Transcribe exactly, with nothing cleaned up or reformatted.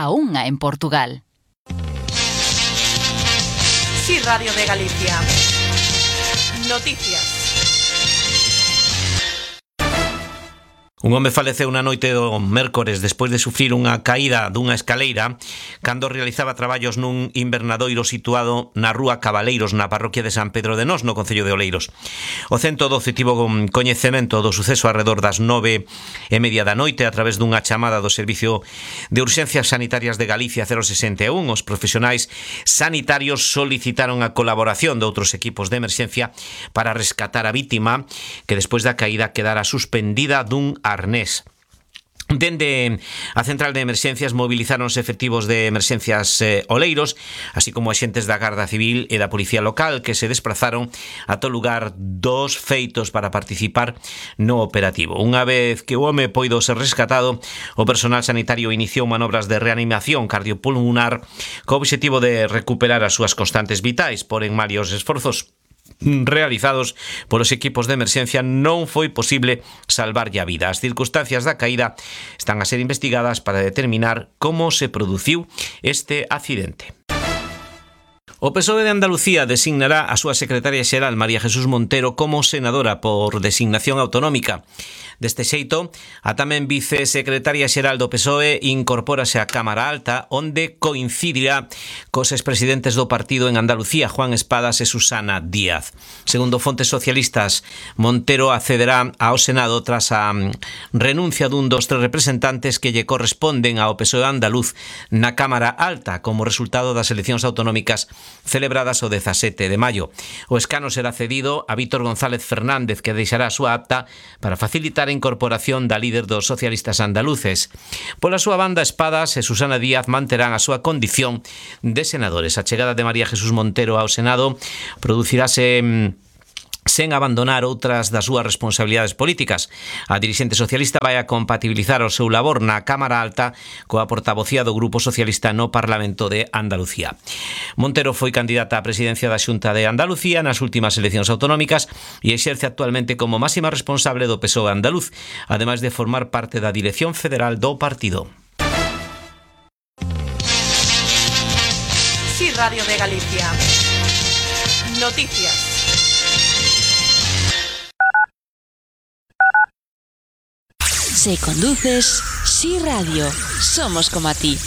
a unha en Portugal. Sí, Radio de Galicia. Noticias. Un home faleceu na noite do mércores despois de sufrir unha caída dunha escaleira cando realizaba traballos nun invernadoiro situado na rúa Cabaleiros, na parroquia de San Pedro de Nós, no concello de Oleiros. O ciento doce tivo coñecemento do suceso arredor das nove e media da noite a través dunha chamada do Servicio de Urxencias Sanitarias de Galicia cero sesenta e un. Os profesionais sanitarios solicitaron a colaboración de outros equipos de emerxencia para rescatar a vítima, que despois da caída quedara suspendida dun arnés. Dende a central de emerxencias movilizaronse efectivos de emerxencias eh, Oleiros, así como axentes da Garda Civil e da Policía Local, que se desplazaron ata o lugar dos feitos para participar no operativo. Unha vez que o home poido ser rescatado, o personal sanitario iniciou manobras de reanimación cardiopulmonar co obxectivo de recuperar as súas constantes vitais, porén varios esforzos realizados polos equipos de emerxencia non foi posible salvarlle a vida. As circunstancias da caída están a ser investigadas para determinar como se produciu este accidente. O P S O E de Andalucía designará a súa secretaria xeral María Jesús Montero como senadora por designación autonómica. Deste xeito, a tamén vicesecretaria xeral do P S O E incorpórase á Cámara Alta, onde coincidirá cos expresidentes do partido en Andalucía, Juan Espadas e Susana Díaz. Segundo fontes socialistas, Montero accederá ao Senado tras a renuncia dun dos tres representantes que lle corresponden ao P S O E andaluz na Cámara Alta como resultado das eleccións autonómicas celebradas o dezasete de maio. O escano será cedido a Víctor González Fernández, que deixará a súa acta para facilitar a incorporación da líder dos socialistas andaluces. Pola súa banda, Espadas e Susana Díaz manterán a súa condición de senadores. A chegada de María Jesús Montero ao Senado producirase sen abandonar outras das súas responsabilidades políticas. A dirixente socialista vai a compatibilizar o seu labor na Cámara Alta coa portavocía do Grupo Socialista no Parlamento de Andalucía. Montero foi candidata á presidencia da Xunta de Andalucía nas últimas eleccións autonómicas e exerce actualmente como máxima responsable do P S O E andaluz, ademais de formar parte da dirección federal do partido. Sí, Radio de Galicia. Noticias. Si conduces, Sí Radio, somos como a ti.